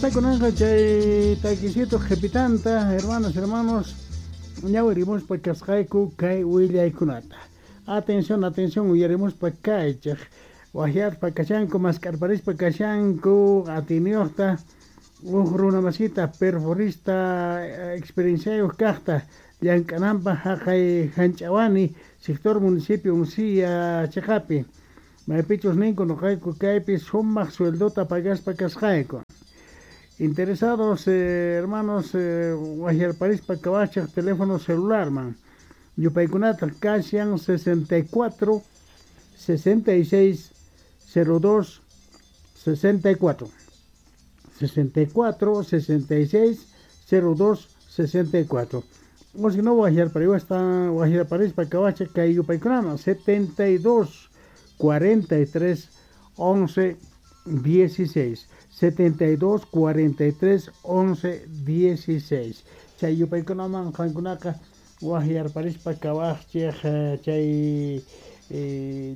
Kunanqa chay takisito qhipitanta, hermanas, hermanos, ñawirimuspa kasqayku kay willaykunata. Atención, atención, uyarimuspa kaychej. Wajyaspa kashanku, mask'arparispa kashanku, atiyniyuqta, uj runa masita, perforista, experienciayuq kaqta, llank'ananpaq haqay Hanch'awani, sector municipio Uncía chiqapi. Maypichus ninku noqayku kaypi sumaq sueldota pagaspa kasqayku. Interesados, hermanos, wajyarparispa kawachej teléfono celularman. Yupaykunata kashan 64 66 02 64. 64 66 02 64. O si no, wajyarparispa kawachej kay yupaykunaman 72 43 11 16. 72 43 11 16. Chay yupaykunaman qankunaqa wajyarparispa kawajchej chay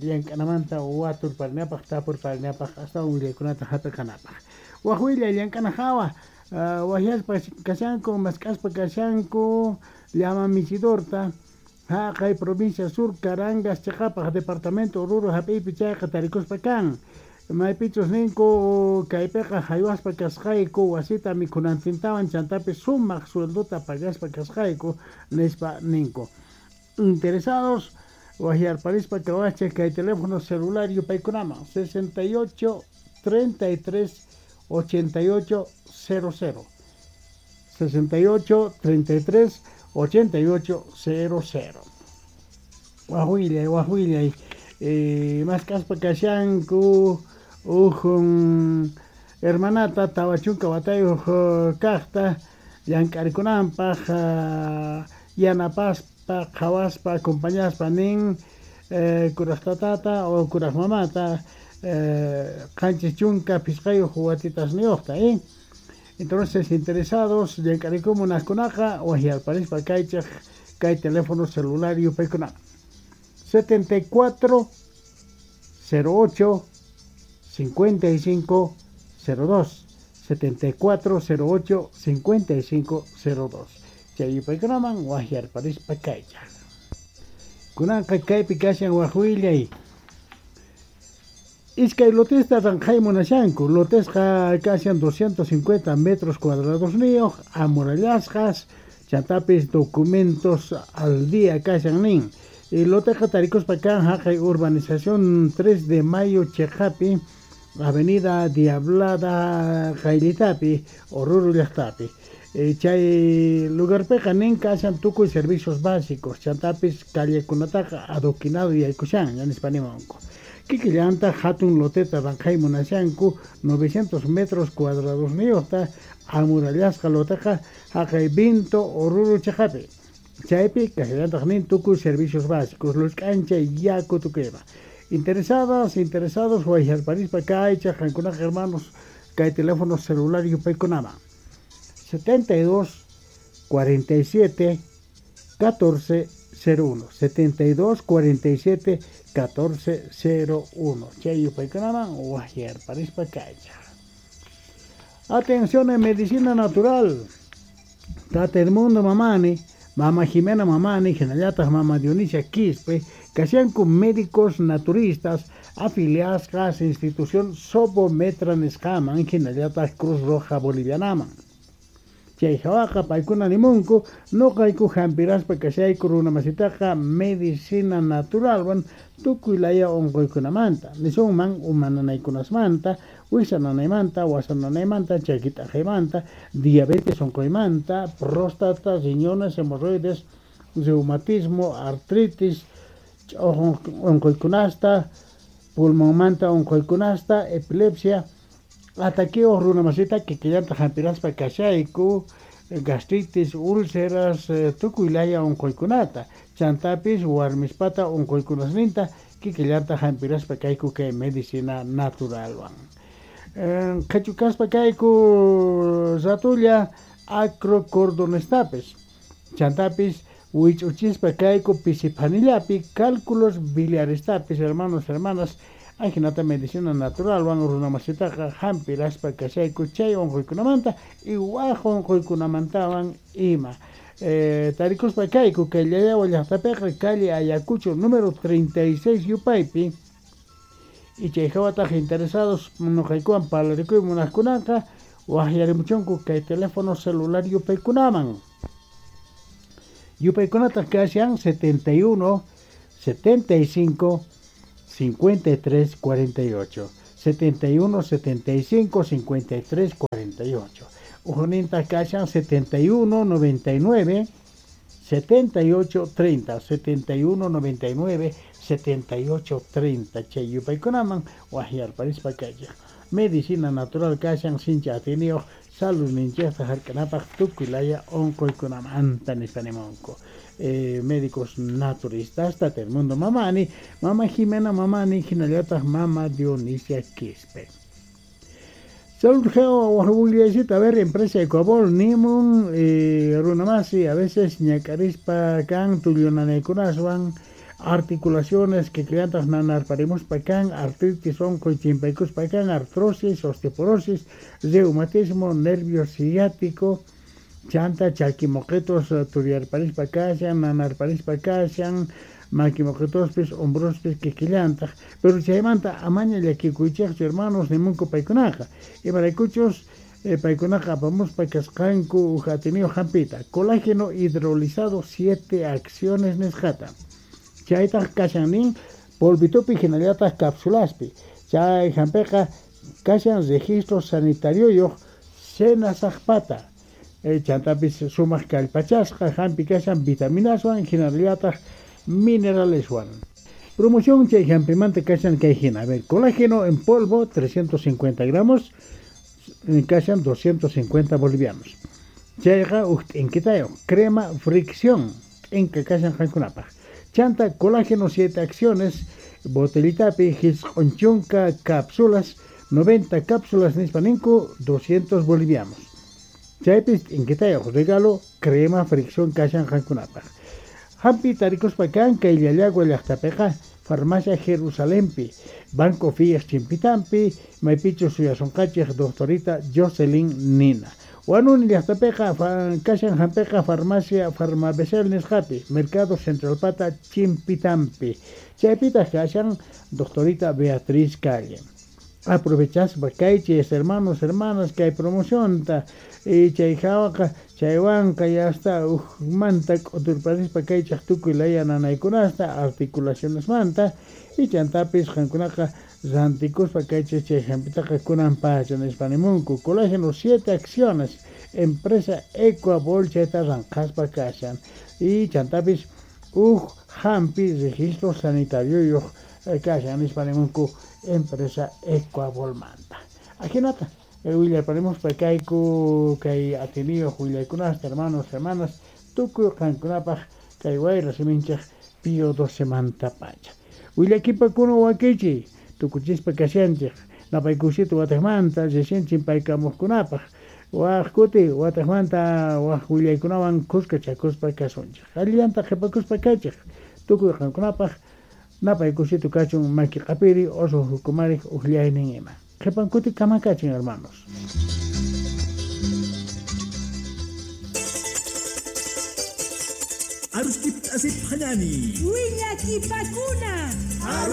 llank'anamanta waturparinapaj tapurparinapaj astawan willaykunata hap'iqanapaj. Waj willay llank'ana hawa wajyaspa kashanku mask'aspa kashanku llama michidorta haqay provincia sur Carangas chiqapaj departamento Oruro hap'iypi chayqa tarikuspa kan. Maypichus ninku kaypiqa haywaspa kasqayku wasita mikhunantintawan chantapis sumaq sueldota pagaspa kasqayku nispa ninku. Interesados wajyarparispa kawachej kay teléfono celular yupaykunaman 68 33 88 00. 68 33 88 00. Wajwillay, wajwillay, mask'aspa kashanku uj hermanata 40 watayuq kaqta llank'arikunanpaj yanapaspa qhawaspa acompañaspa nin kuraj tatata o kuraj mamata 75 watitasniyuqta. Entonces, interesados llank'ariku munaqkunaqa wajyarparispa kaychej kay teléfono celular yupaykunaman 74 08 55 02. 74 08 55 02. Chay yupaykunaman wajyarparispa kaychaj. Kunanqa kaypi kashan wajwillay. Iskay lotesta ranqhay munashanku. Lotesqa kashan 250 metros cuadrados niyuq, amurallasqas, chantapis documentos al día kashan nin. Y loteqa tarikuspa kan haqay urbanización 3 de Mayo chiqapi, avenida Diablada qayllitapi, Oruro llaqtapi. Chay lugarpiqa nin kashan tukuy servicios básicos, chantapis callekunataqa adoquinado yaykushan, nispa nimunku. Kikillanta hatun loteta ranqhay munashanku 900 metros cuadrados niyuqta amurallasqa loteqa haqay Vinto Oruro chiqapi. Chaypi kashallantaq nin tukuy servicios básicos, luz k'anchay, yaku tukuyma. Interesadas, interesados, wajyarparispa kaychaj qankunaqa hermanos kay teléfono celular yupaykunaman 72 47 14 01. 72 47 14 01. Chay yupaykunaman wajyarparispa kaychaj. Atención en medicina natural. Tata Edmundo Mamani, Mama Jimena Mamani, hinallataq Mama Dionisia Quispe, kashanku médicos naturistas afiliadas a institución Sobometra nisqaman, hinallataq Cruz Roja Bolivianaman. Chay hawaqa paykuna nimunku, noqayku hampiraspa kashayku runa masitaqa medicina naturalwan tukuy laya unquykunamanta, nisunman uma nanaykunasmanta, wiksa nanaymanta, wasa nanaymanta, chaki t'aqaymanta, diabetes unquymanta, próstata, riñones, hemorroides, reumatismo, artritis, unquykunasta, pulmonmanta unquykunasta, epilepsia, ataqueo runa masita kikillanta hampiraspa kashayku, gastritis, úlceras, tukuy laya unquykunata, chantapis warmispata unquykunasninta kikillanta hampiraspa kayku kay medicina naturalwan. Qhachukaspa kayku ratulla acrocordonestapis, chantapis wich'uchispa kayku pisipanillapi cálculos biliarestapis, hermanos, hermanas, Ajinata medicina naturalwan runamasitaqa hampiraspa kashayku chay unquykunamanta y waj unquykunamantawan ima. Tarikuspa kayku kay Llallawa llaqtapiqa calle Ayacucho número 36 yupaypi. Y chay hawataq interesados nuqaykuwan parlarikuy munaqkunaqa waqyarimuchunku kay teléfono celular yupaykunaman. Yupaykunataq kashan 71 75 53 48, 71 75 53 48. Ujninta kashan 71 99 78 30, 71 99 78 30. Chay yupaykunaman waqyarparispa kaychik. Medicina natural kashan sincha atiniyuq saludninchikta hark'anapaq tukuy laya unquykunamanta nispa nimunku. Médicos naturistas Tata Edmundo Mamani, Mama Jimena Mamani, hinallataq Mama Dionisia Quispe. Salud a ver, empresa Ecuabol, nimun, runamasi, a veces ñakarispa kan, tullunanaykunaswan, articulaciones que clientas nanarparimuspa kan, artritis, onqoy chimpaykuspa kan, artrosis, osteoporosis, reumatismo, nervio ciático, chanta chakimoqitos turiyarparispa kashan, nanarparispa kashan, makimoqitospis, hombrospis kikillantaq. Pero chaymanta amaña llakikuychikchu hermanos nimunku paykunaqa. Imaraykuchus paykunaqa apamuspa kasqanku uj atiniyuq hampita. Colágeno hidrolizado 7 acciones nisqata. Chaytaq kashan nin polvitupi hinallataq cápsulaspi. Chay hampiqa kashan registro sanitarioyuq senasaqpata. Chantapis sumaq kallpachasqa hampi kashan vitaminaswan hinallataq mineraleswan. Promoción chay hampimanta kashan kay hina. A ver, colágeno en polvo 350 gramos kashan 250 bolivianos. Chayqa uj t'inkitayo crema fricción t'inka kashan qankunapaq. Chanta colágeno 7 acciones botellitapi hisq'unchunka cápsulas 90 cápsulas nispa ninku 200 bolivianos. Chaypis t'inkitayoq regalo crema fricción kashan qankunapaq. Hampi tarikuspa kan kay Llallagua llaqtapiqa farmacia Jerusalempi, Banco Fias chimpitampi, maypichu suyasunqachik doctorita Jocelyn Nina. Huanuni llaqtapiqa kashan hampiqa farmacia Farmabesel nisqapi, Mercado Centralpata chimpitampi. Chaypitaq kashan doctorita Beatriz Calle. Aprovechaspa kaychis hermanos, hermanas, kay promocionta y chay hawaqa chaywanqa ya está ujmanta k'uturparispa kaychaq tukuy laya nanaykunasta articulacionesmanta y chantapis qankunaqa rantikuspa kaychis chay hampitaqa kunan pacha nispa nimunku. Colágeno 7 acciones empresa Ecuabol chayta ranqaspa kashan y chantapis uj hampi registro sanitario kashan nispa nimunku empresa Ecuabolmanta. Ajinata willarparemos kayku kay atiniyuq willaykunasta hermanos, hermanas, tukuy qankunapaq kay wayra siminchik Pío XII manta pacha. Willakipakuna wakichi tukuchispa kashanchik napaykusita wataqmanta recién chimpaykamuqkunapaq waj kuti wataqmanta waj willaykunawan kuskachakuspa kasunchik. Allillanta qhipakuspa kaychik tukuy qankunapaq napaykusita kachun maki q'apiri oso hukumarik uqllaynin ima. Qhipankuti kamakachin hermanos. Arustip asip hanani. Willakipakuna.